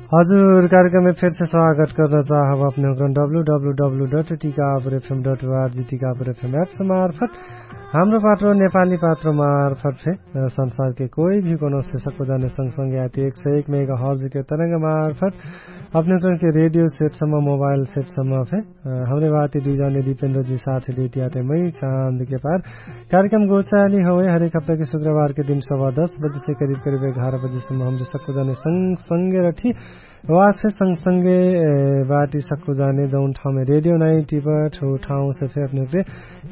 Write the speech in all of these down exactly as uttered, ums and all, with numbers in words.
हजुर, कार्यक्रममे फेरसे स्वागत कर्न चाहब अपने हुँक्रन W W W dot Tikapur FM dot ORG Tikapur FM apps मार्फत हाम्रो पात्रो नेपाली पात्रो मार्फत फे संसारके कोइ भी कोनो से सक्को जाने संगसंगे आती एक सय एक मेगा हजके तरंग मार्फत अपने हुँक्रनके रेडियो सेटसम्म मोबाइल सेटसम्म फे हमरे बाती दुइ जाने दिपेन्द्रजी साथ लेतियाते मै चाँदके पार कार्यक्रम गोचाली हवे हरेक हप्ताके शुक्रबारके दिन सवा दस बजेसे करिब करिब एघार बजेसम्म हमरे सक्कु जाने संगसंगे रठी। वाक्से संगसंगे बाटी सक्कु जाने जौन ठाउँमे रेडियो नाइ टिपट हो ठाउँसे फे अपने हुँक्रे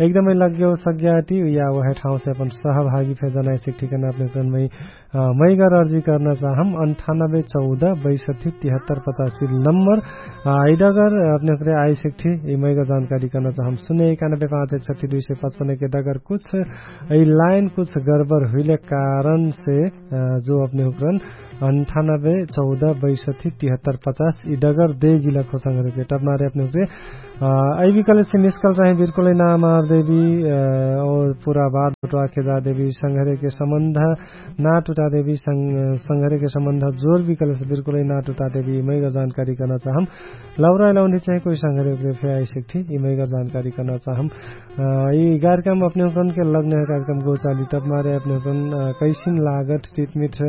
एकदमै लग्यो सग्याटी या वहे ठाउँसे अपन सहभागी फे जनाइ सिक्ठी कर्ना अपने हुँक्रनमै मैगर अर्जी कर्ना चाहम अन्ठानबे चौध बैसठी तिहत्तर पचासी नम्बर। इडगर अपने हुँक्रे आइ सिक्ठी यि मैगर जानकारी कर्ना चाहम सुने एकानबे पाँच एक सठी दुइ सय पचपन्नके डगर कुछ यि लाइन कुछ गरबर हुइले कारणसे जो अपने हुँक्रन अन्ठानबे चौध बैसठी तिहत्तर पचास यि डगर देगिला खोसंगरके टपमारे अपने हुँक्रे अइबी कलेसे मिसकल चाहे बिल्कुलै ना मार देबी। और पुरा बात बटवाके जा देबी संघरेके सम्बन्ध ना टुटा देबी। संघरेके सम्बन्ध जोर भी कलेसे बिल्कुलै ना टुटा देबी मैगर जानकारी कर्ना चाहम। लौराइ लौन्डी चाहे कोइ संघरे उकरे फे आइ सिक्ठी यि मैगर जानकारी कर्ना चाहम। यि कार्यक्रम अपने हुँक्रनके लग्ने कार्यक्रम गोचाली तब मारे अपने हुँक्रन कैसिन लागत टिटमिट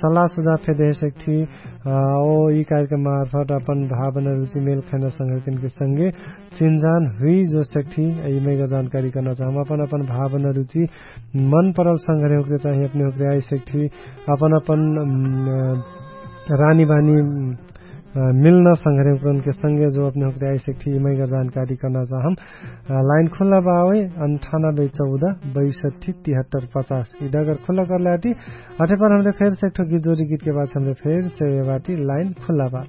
सल्लाह सुझाव फे देहे सक्ठी। ओ यि कार्यक्रम मार्फत अपन भावना रुचि मेल खैना संघर्किनके संगे चिन्जान हुइ जो सक्ठी यि मैगर जानकारी कर्ना चाहम अपन अपन भावना रुचि मन परल संघरे हुँक्रे चाहे अपने हुँक्रे आइ सक्ठी। अपन अपन रानी बानी मिल्न संघरे हुँक्रनके संगे जो अपने हुँक्रे आइ सक्ठी यि मैगर जानकारी कर्ना चाहम। लाइन खुल्ला बावै अन्ठानबे चौध बैसठी तिहत्तर पचास यि डगर खुल्ला कर्लाटी। अठेपर हमरे फेर सेक्ठो गीत जोरी गीतके बाद हमरे फेर से बाटी लाइन खुल्ला बा।